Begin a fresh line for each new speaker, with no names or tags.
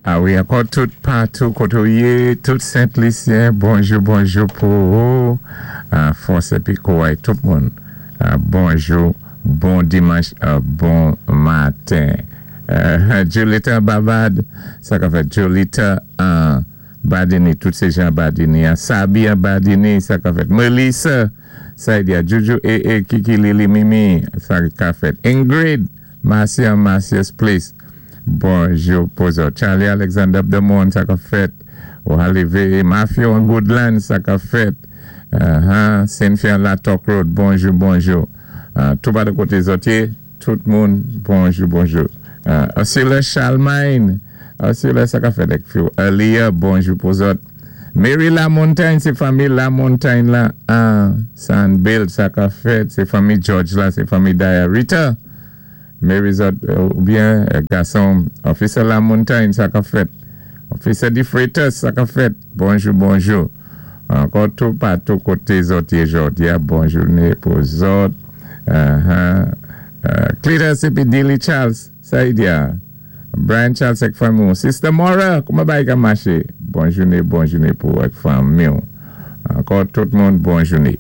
A wi, ankò tout patou koté ou yé, tout Sent Lisyen, bonjou bonjou pou ou, fòs épi kouray tout moun. Bonjou, bon dimanch, bon maten. Julita Babad, sa ka fèt? Julita Badini, tout sé jan Badini, Sabi Badini, sa ka fèt? Melissa, Saidia, Juju, E, Kiki, Lili, Mimi, sa ka fèt? Ingrid, Marcia, Marcia's Place, bonjou pou zòt. Charlie Alexander Demon, sa ka fèt? Ou Mafio an Goodland, sa ka fèt? Cynthia Latok Road, bonjou, bonjou. Tout pa de koté zòt yé, tout moun, bonjou, bonjou. Ursula Charlemagne, Ursula, sa ka fèt? Elia, bonjou pou zòt. Mary Lamontagne, sé fanmi Lamontagne la, San Bill, sa ka fèt? Sé fanmi George la, sé fanmi Daya Rita. Mary zòt, oubyen gason, Officer Lamontagne, sa ka fèt? Officer Di Freitas, sa ka fèt? Bonjou, bonjou. Ankò tout patou koté zòt yé jòdi a, bon jouné pou zòt. Cletus épi Dilly Charles, sa i di a? Brian Charles ak fanmi. Sister Mora, kouman bagay ka maché? Bon jouné, bon jouné pou ak fanmi. Ankò tout moun, bon jouné.